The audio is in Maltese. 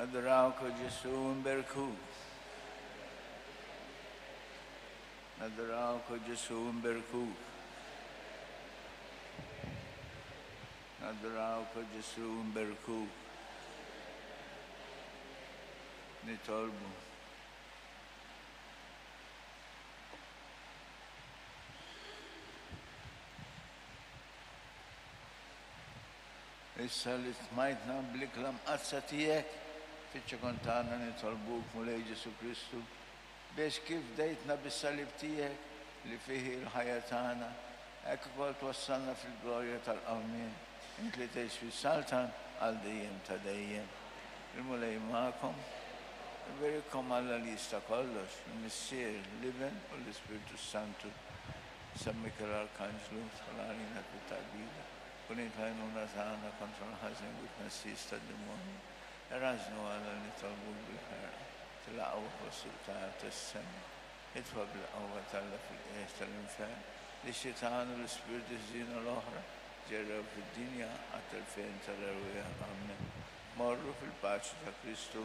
Nadurawk, O Ġesù, nberkuk. Nadurawk, O Ġesù, nberkuk. Nadurawk, O Ġesù, nberkuk. Nitolbu. Issa li stmajtna bl-ikla mqaddsa tiegħek, fiċ-ċokon tagħna nitolbuk, Mulej Ġesù Kristu, biex kif fdejtna bis-salib tiegħek li fih hi l-ħajja tagħna, hekk ukoll twassalna fil-glorja tal-qawmien, int li tgħix fis-saltan għal dejjem ta' dejjem. Il-Mulej magħkom. Iberikkom Alla li jista' kollox, il-Missier, l-Iben u l-Ispirtu s-Santu. San Mikiel Arkanġlu, dħol għalina fit-taqbida. Kun int l-għajnuna tagħna kontra l-ħażen u t-tnassis tad-demonji. Erażnu Alla nitolbuk bil-ħerqa, tilaqgħu fost il-qtajja' tas-sema. Itfa' bil-qawwa t'Alla fil-qiegħ tal-infern lix-xitan u l-ispirti ħżiena l-oħra ġerrew fid-dinja għat-telfien tal-erwieħ. Ammen. Morru fil-paċi ta' Kristu.